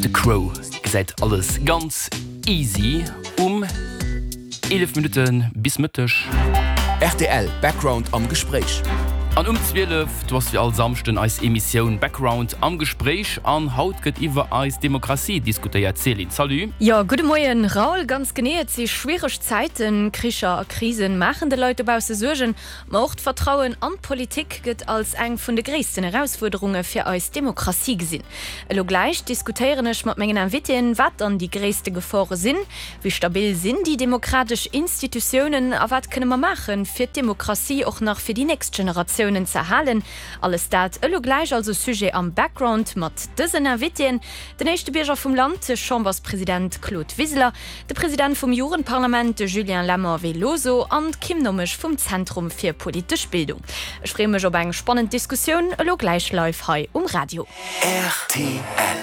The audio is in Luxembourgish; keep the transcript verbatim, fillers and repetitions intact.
The Crow gesäit alles ganz easy um eelef Minutte bis Mëtteg. Rtl Background am Gespréich. An um zwielef, do ass wéi all Samschden eis Emissioun Background am Gespréich an haut gëtt iwwer eis Demokratie diskutéiert. Céline, salut. Jo, gudde Moien Raoul. Ganz genee, et si schwiereg Zäiten. Kricher a Krisen maachen de Leit dobausse Suergen. Ma och d'Vertrauen an d'Politik gëtt als eng vun de gréissten Erausfuerderunge fir eis Demokratie gesinn. Elo gläich diskutéieren ech mat mengen Invitéen, wat dann déi gréisste Gefore sinn, wéi stabil sinn déi demokratesch Institutiounen a wat kënne mer maachen, fir d'Demokratie och nach fir déi nächst Generatiounen ze erhalen. Alles dat elo gläich also Sujet am Background mat dësen Invitéen, den éischte Bierger vum Land, de Chamberspresident Claude Wiseler, de President vum Jugendparlament, de Julien Lemmer Veloso an d'Kim Nommesch vum Zentrum fir politesch Bildung. Ech freeë mech op eng spannend Diskussioun elo gläich live hei um Radio. Rtl.